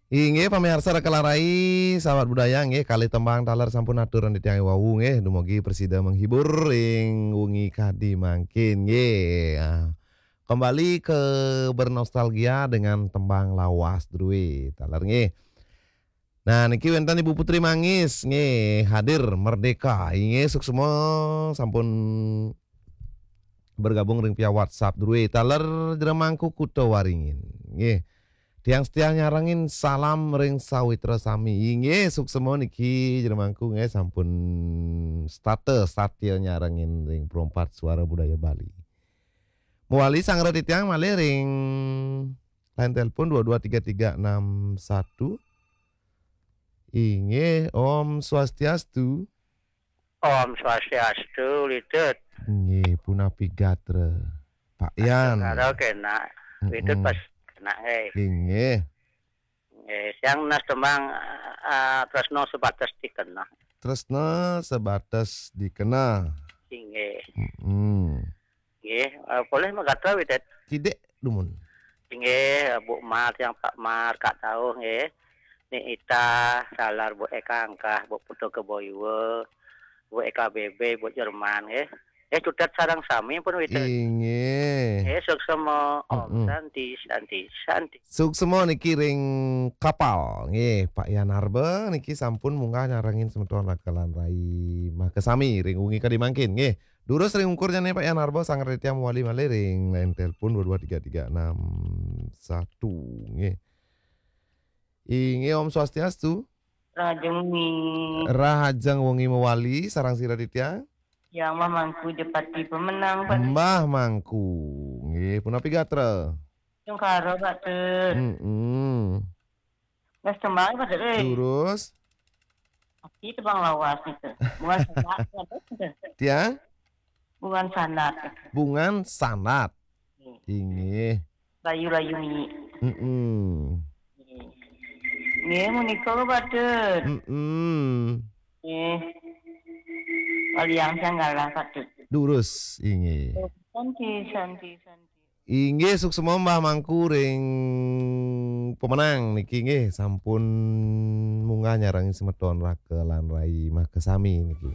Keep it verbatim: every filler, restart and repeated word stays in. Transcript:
Inggih, pamiarsa Raka lan Rai, sahabat budaya, nggih, kalih tembang taler sampun aturan titiang wau, nggih, dumugi prasida menghibur ring wengi kadi mangkin, nggih. Ah, kembali ke bernostalgia dengan tembang lawas drué taler, nggih. Nah, niki wénten Ibu Putri Mangis, nggih, hadir merdeka. Inggih, suksma sampun bergabung ring via WhatsApp drué taler Jero Mangku Kuta Waringin. Nggih. Tiang setia nyarengin salam ring sawitra sami. Inggih, suksma niki Jero Mangku nggih sampun setata satia nyarengin ring Perempat Suara Budaya Bali. Mawali sanggra titiang malih ring line telepon dua dua tiga tiga enam satu. Inggih, Om Swastiastu. Om Swastiastu, Lidut. Nggih, punapi gatra, Pak Yan? Karo kena, Lidut Mm-mm. Pas kena, nggih. Inggih. Nggih, tiang nunas tembang, eh, Tresna Sebatas Dikena. Tresna Sebatas Dikena. Inggih. Mm-mm. Nggih, eh, polih magatra, Widit. Kidik dumun. Inggih, Bu Mar, tiang Pak Mar, Kak Tauh, nggih. Ni Ita, taler Bu Eka Angkah, Bu Putu Keboyua, Bu Eka B B, Bu Jerman, nggih. Eh, cutet sareng sami pun, Widit. Inggih. Eh, suksma. Om Mm-mm. Santi, Santi, Santi. Suksma niki ring kapal, nggih, Pak Yan Arba niki sampun munggah nyarengin semeton Raka lan Rai makasami ring wengi kadi mangkin, nggih. Durus ring ungkur jane Pak Yan Arba, sanggra titiang mawali malih ring line telepon dua dua tiga tiga enam satu, nggih. Inggih, Om Swastiastu. Rahajeng wengi. Rahajeng wengi mawali, sareng sira titiang? Yang Mbah Mangku Jepati Pemenang, Pak. Mbah Mangku. Nggih, punapi gatra? Sungkara, Pak Tut. Mm-mm. Mas tembang, Pak Tut, eh. Durus. Tapi tembang lawas niku. Bungan sanat, Pak Tut. Tiang? Bungan sanat. Bungan sanat. Hmm. Inggih. Layu-layu mi. Mm-mm. Nggih, menika, Pak Tut. Mm-mm. Nggih. Waliang sanggalah, Pak Tut. Durus, inggih. Santi, Santi, Santi. Inggih, suksma Mbah Mangku ring Pemenang niki, nggih, sampun munggah nyarengin semeton Raka lan Rai makasami niki.